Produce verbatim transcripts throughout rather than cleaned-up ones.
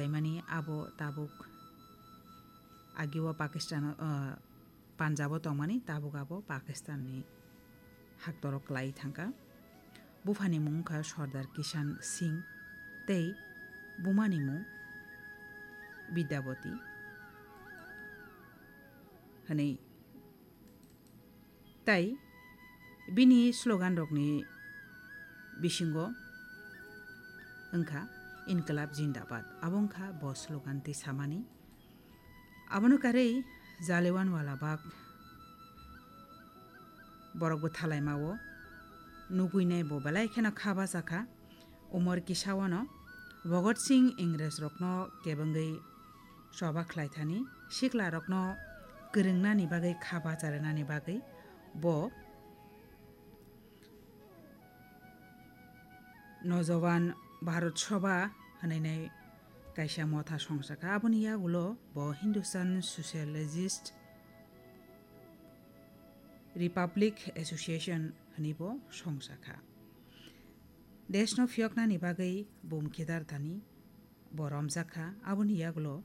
Mani abo tabuk agio Pakistan, ah, Punjab o tongmani, tabuk abo Pakistan ni haktoro klai thangkha. Buphani mung wngkha Sardar Kishan Singh tei bumani mung Vidyavati hwnwi. Tai bini slogan rokni bisingo wngkha Inqilab Zindabad. Abo wngkha bo slogan twi samani. Abono karwi Jallianwala Bagh borok bwthalaimao nugwinai bo belai kheno kha bachakha. Umor kisaono Bhagat Singh Ingres rokno kebengwi choba khlaithani, sikla rokno kwrwngnani bagwi kha bacharinani bagwi bo Nojawan Bharat Sabha hwnwi kaisa motha songchakha. Aboni yagulo bo Hindustan Socialist Republic Association hwnwi bo songchakha. Deshno phiyoknani bagwi bum khidartani bo romjakha. Aboni yagulo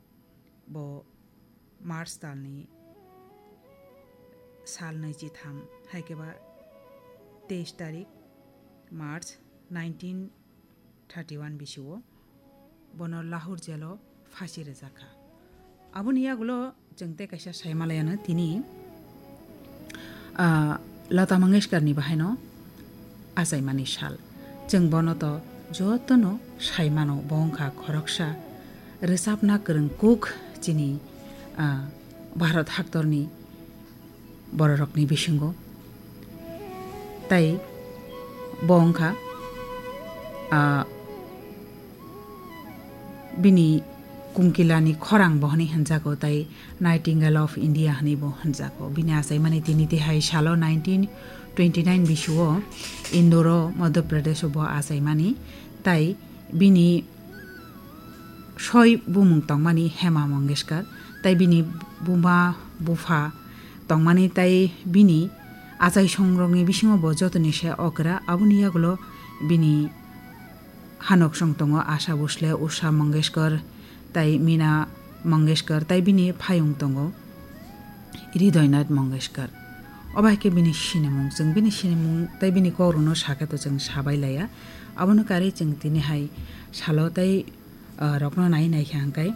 bo March talni sal nwichitham, hai khe ba teis tarik March nineteen thirty one bisio bono Lahore jail o phasi rwjakha. Aboni yagulo chwng tei kaisa saimalaiano tini, ah, Lata Mangeshkar ni bahaino achaimani sal. Chwng bono to jotono saimano, bo wngkha khoroksa rwchapna kwrwng kuk chini, ah, Bharat haktorni bororokni bisingo. Tai bo wngkha, ah, bini kungkilani khorang bo hwnwi hwnjago, tai Nightingale of India hwnwi bo hwnjago. Bini achaimani tini tihai salo nineteen twenty nine bisio Indore o, Madhya Pradesh o bo achaimani, tai bini soi bumung tongmani Hema Mangeshkar, tai bini buma bupha tongmani, tai bini achaisongrokni bisingo bo jotoni se okra. Aboni yagulo bini hanoksong tongo Asha Bhosle, Usha Mangeshkar, tai Mina Mangeshkar, tai bini phayung tongo Hridoynath Mangeshkar. Obo hai khe bini sinimung, chwng bini sinimung tai bini kokrokno sakhe to chwng sabai laya. Abono karwi chwng tini hai salo tai, ah, rokno nai nai khe hwnkhe